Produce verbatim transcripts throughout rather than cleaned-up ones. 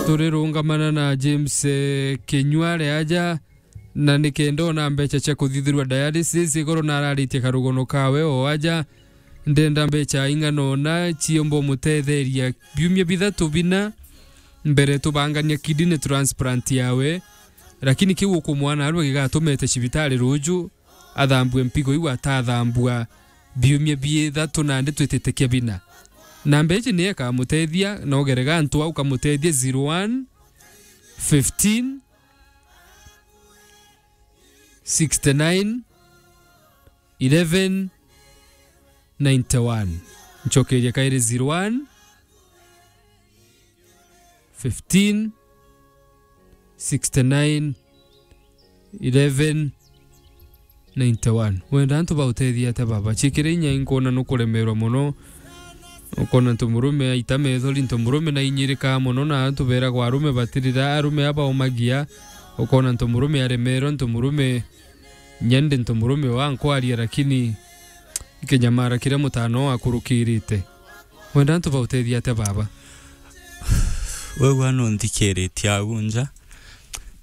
Turirungamana na James, eh, Kinyuare aja, na nikenda ona mbeca cia kuthithirua dialysis, igoro nararitie karugono kawe o aja, ndenda mbeca ing'ana ona ciomba umutetheria biumia bithatu bina mbere tubangania kidney transplant yawe, lakini kiu ukumwana arua gigatumete cibitari ruju, athambue mpigo iu atathambua biumia bithatu nandi twitite kia bina. Namba iji ni ikamutethia, na ugerega antu au ukamutethia zero one, fifteen, sixty-nine, eleven, ninety-one. Ncokeria kairi zero one, fifteen, sixty-nine, eleven, ninety-one. Wenda antu bautethia atia baba? Cikire inya inkwona nukuremerwa mono. Ukona ntu murume aita methori, ntu murume nainyirikaa mono, na antu beragwa arume batirira, arume aba umagia. Ukona ntu murume aremerwa, ntu murume nyende ntu murume wankwaria, lakini ikinyamara kiria mutano akurukirite. Wenda antu bautethia atia baba? Wewe wana unthikiritie agu nja,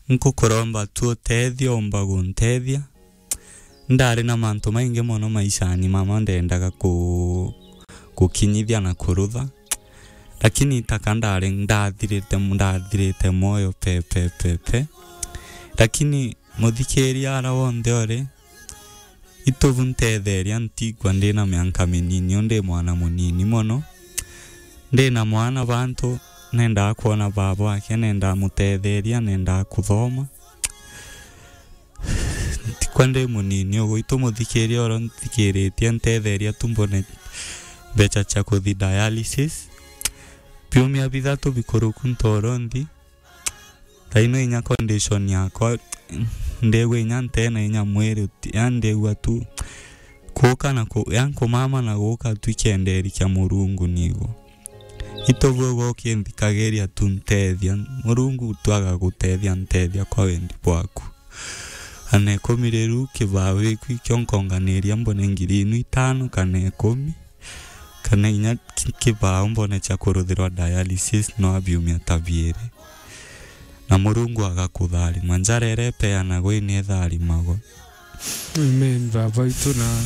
nkukuromba tu utethio, umba guntethia. Ndari na mantu maingi mono maishani mama ndendaga ku-, gukinyithia na kurutha, lakini taka ndari ndathirite, ndathirite moyo pe, pe, pe, pe. Lakini muthikiria ara wonthe uri, itubu ntetheria, ntigwa ndi na mianka minini, u ndi mwana munini mono. Ndi na mwana bantu, nendaa kwona baba wake, nendaa mutetheria, nendaa kuthoma. Ntikwa ndi munini ugu, itu muthikiria oro nthikiritie, ntetheria tu mbone mbeca cia kuthi dialysis. Biumia bithatu bikuruku ntoro nthi. Thaino inya condition yakwa, ndigwa inya ntena inya mwiri uti-, ya ndigwa tu kuuka na ku-, ya nkumama na guuka tu ikienderia kia Murungu nigo. Itubu ugu ukinthikagiria tu ntethia, Murungu tu agagutethia, ntethia kwa wendi bwaku. Ana ikumi riu kibao giku ikio nkonganiria mbone ngiri inu itano kana ikumi, kana inya ki-, kibao mbone cia kuruthirwa dialysis no abiumia ta biiri. Na Murungu agakutharima. Njara iria ipeanagwa ini itharimagwa. Amen, baba itu, na